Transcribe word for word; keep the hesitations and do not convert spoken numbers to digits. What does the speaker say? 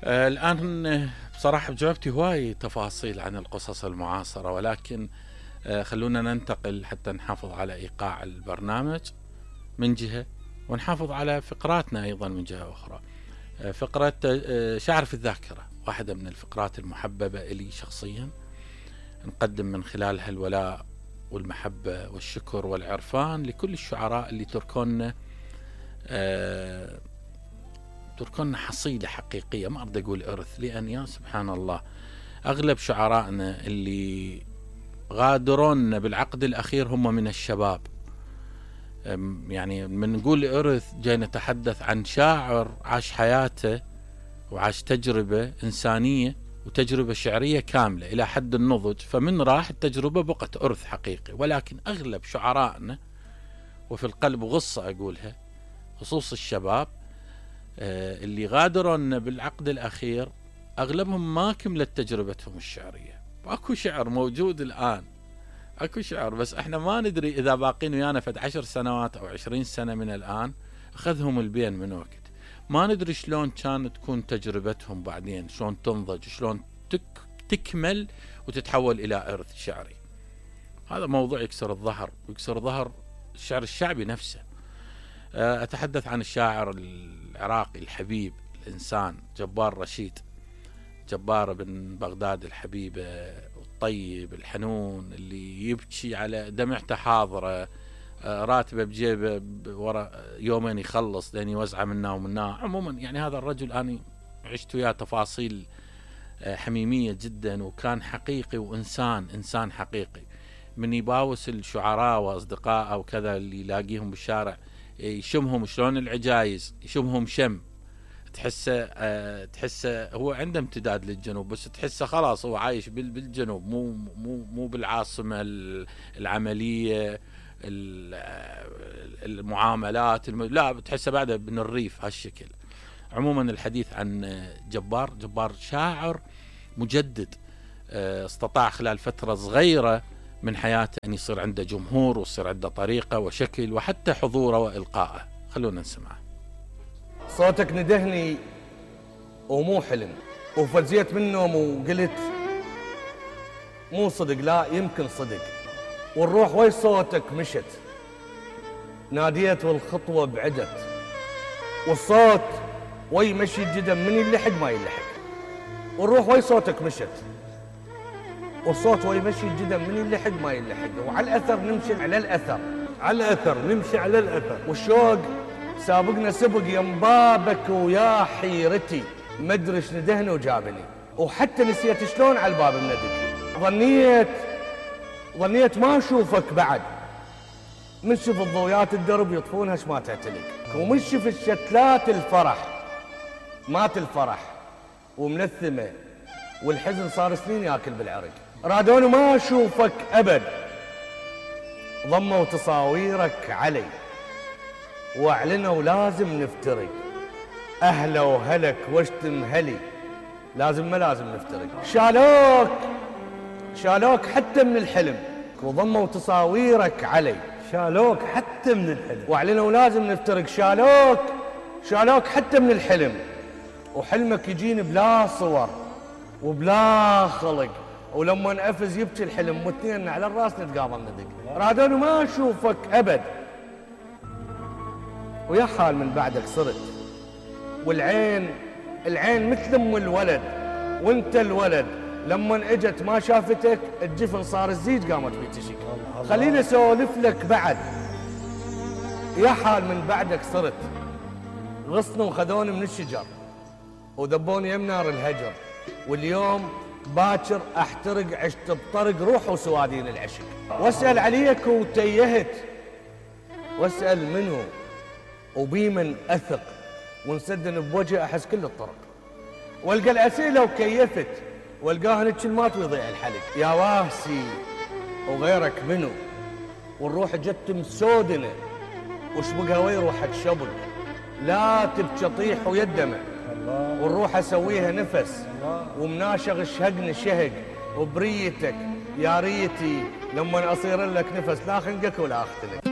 آه الآن بصراحة بجاوبتي هواي تفاصيل عن القصص المعاصرة، ولكن آه خلونا ننتقل حتى نحافظ على إيقاع البرنامج من جهة، ونحافظ على فقراتنا أيضا من جهة أخرى. آه فقرة آه شعر في الذاكرة، واحدة من الفقرات المحببة إلي شخصيا، نقدم من خلالها الولاء والمحبة والشكر والعرفان لكل الشعراء اللي تركونا آه تركونا حصيلة حقيقية. ما أريد أقول إرث، لأن يا سبحان الله أغلب شعرائنا اللي غادرونا بالعقد الأخير هم من الشباب. يعني من نقول إرث جاي نتحدث عن شاعر عاش حياته وعاش تجربة إنسانية وتجربة شعرية كاملة إلى حد النضج، فمن راح التجربة بقت إرث حقيقي. ولكن أغلب شعرائنا، وفي القلب غصة أقولها، خصوص الشباب اللي غادرونا بالعقد الأخير، أغلبهم ما كملت تجربتهم الشعرية. أكو شعر موجود الآن، أكو شعر، بس إحنا ما ندري إذا باقين ويانا فد عشر سنوات أو عشرين سنة من الآن أخذهم البين من وقت. ما ندري شلون كانت تكون تجربتهم بعدين، شلون تنضج، شلون تك تكمل وتتحول إلى إرث شعري. هذا موضوع يكسر الظهر ويكسر ظهر الشعر الشعبي نفسه. أتحدث عن الشاعر العراقي الحبيب الإنسان جبار رشيد، جبار بن بغداد الحبيب الطيب الحنون، اللي يبكي على دمعته حاضرة، راتبه بجيبه ورا يومين يخلص لين يوزعه منا ومنا. عموما يعني هذا الرجل أنا عشت وياه تفاصيل حميمية جدا، وكان حقيقي وإنسان إنسان حقيقي. من يباوس الشعراء وأصدقائه وكذا اللي يلاقيهم بالشارع يشمهم شلون العجايز، يشمهم شم تحسه أه تحسه هو عنده امتداد للجنوب، بس تحسه خلاص هو عايش بالجنوب، مو مو مو بالعاصمة العملية المعاملات الم... لا بتحسه بعده من الريف هالشكل. عموما الحديث عن جبار جبار شاعر مجدد، استطاع خلال فترة صغيرة من حياته أن يصير عنده جمهور ويصير عنده طريقة وشكل وحتى حضوره وإلقائه. خلونا نسمعه. صوتك ندهني ومو حلم، وفزيت من النوم وقلت مو صدق، لا يمكن صدق، والروح وي صوتك مشت، ناديت والخطوة بعدت، والصوت وي مشي الجدم من يلحق ما يلحق، والروح وي صوتك مشت، والصوت وي مشي الجدم من يلحق ما يلحق، وعلى الأثر نمشي على الأثر، على الأثر نمشي على الأثر، والشوق سابقنا سبق يم بابك ويا حيرتي، مدرش ندهني وجابني، وحتى نسيت شلون على الباب مندق. ظنيت ظنيت ما اشوفك بعد، من شف الضويات الدرب يطفونها ما تعتلق، ومن شف الشتلات الفرح مات الفرح وملثمه، والحزن صار سنين ياكل بالعرق. رادوني ما اشوفك ابد، ضموا تصاويرك علي واعلنوا لازم نفترق، اهلا وهلك واشتم هلي، لازم ما لازم نفترق. شالوك شالوك حتى من الحلم، وضموا تصاويرك علي، شالوك حتى من الحلم واعلنوا لازم نفترق. شالوك شالوك حتى من الحلم، وحلمك يجيني بلا صور وبلا خلق، ولما نقفز يبكي الحلم، واثنين على الراس نتقابل ندق. رادوني ما اشوفك ابد، ويا حال من بعدك صرت، والعين العين مثل ام الولد، وانت الولد لما اجت ما شافتك الجفن صار الزيج قامت بيتشك. خليني اسولف لك بعد، يا حال من بعدك صرت، غصنوا وخذوني من الشجر وذبوني يم نار الهجر، واليوم باكر احترق، عشت بطرق روح وسوادين العشق. واسال عليك وتيهت، واسال منو وبيمن اثق، ونسدن بوجه احس كل الطرق، والقى الاسئله وكيفت، والقاها نتشلمات ويضيع الحلق. يا واسي وغيرك منو، والروح جت مسودنه وشبقها وي روحك شبق، لا تبكي طيح ويدمع، والروح اسويها نفس، ومناشغ الشهقني شهق، وبريتك يا ريتي لما اصير لك نفس، لا خنقك ولا اختلك.